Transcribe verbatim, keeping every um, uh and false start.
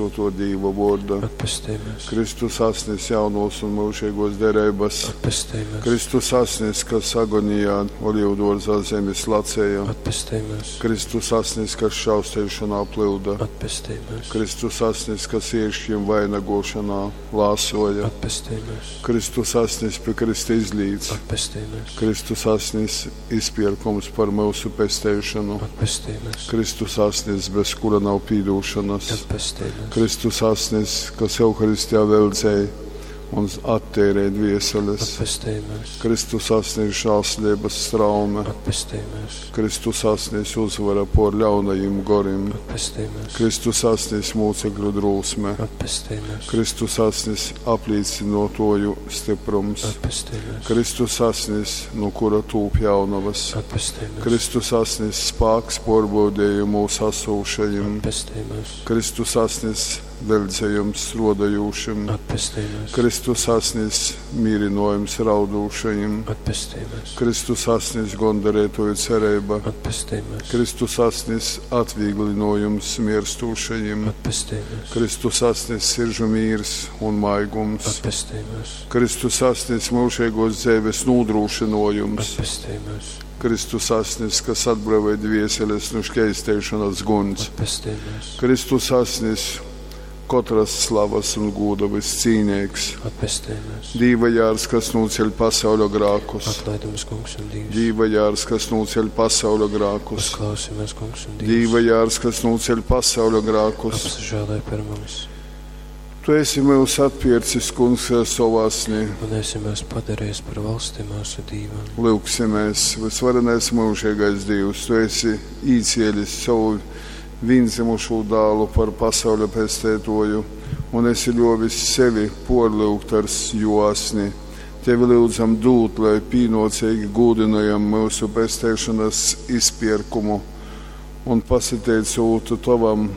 Svātō Dīva vōrda. Atpestej myus. Kristus asnis jaunōs un myužeigōs dereibas. Atpestej myus. Kristus asnis, kas agonijā olīvdōrzā zemi slacēja. Atpestej myus. Kristus asnis, kas šausteišonā plyuda. Atpestej myus. Kristus asnis, kas ērškim vainagošanā lāsoja. Atpestej myus. Kristus asnis pi krysta izlīts. Atpestej myus. Kristus asnis izpierkums par myusu pesteišonu. Atpestej myus. Kristus asnis, bez kura nav pīdūšanas. Atpestej myus. Kristus asnis, kas Euharistijā veldzēja un atteirē dvieseles. Atpestej myus. Kristus asnis žēlsirdības straume. Atpestej myus. Kristus asnis uzvara pār ļaunajiem gorim. Atpestej myus. Kristus asnis mūcekļu drūsme. Atpestej myus. Kristus asnis aplīcinotoju stiprums. Atpestej myus. Kristus asnis, no kura tūp jaunavas. Atpestej myus. Kristus asnis spāks pārbaudījumu mūsu asūšajiem. Atpestej myus. Kristus asnis veldzējums strādājošiem. Atpestej myus. Kristus asnis mīrinojums raudūšajiem. Atpestej myus. Kristus asnis gondarētoju cerība. Atpestej myus. Kristus asnis atvieglinojums mirstūšajiem. Atpestej myus. Kristus asnis siržu mīrs un maigums. Atpestej myus. Kristus asnis mūžīgos dzīves nodrošinojums. Atpestej myus. Kristus asnis, kas atbrīvoja dvieseles no šķeistēšanas guns. Atpestej myus. Kristus asnis, katras slavas un gūda viscīnīgs. Atpestej myus. Dīva jārs, kas nūceļ pasauļa grākus. Atlaid mums, kungs un Dievs. Dīva jārs, kas nūceļ pasauļa grākus. Uzklausi mūs, kungs un Dievs. Dīva jārs, kas nūceļ pasauļa grākus. Apsažēlē par mums Tu esi mūs atpircis, kungs, ar savu asni. un esi mūs padarījis par valsti mūsu Dīvam. Lūgsimies, visvarenais mūžīgais Dievs, Tu esi īcielis savu vienzimušo dālu par pasauļa pestētoju, un esi ļovis sevi porlūgt ar jo asni. Tevi lūdzam dūt, lai pīnocīgi gūdinājam mūsu pestēšanas izpirkumu un pasateicot Tavam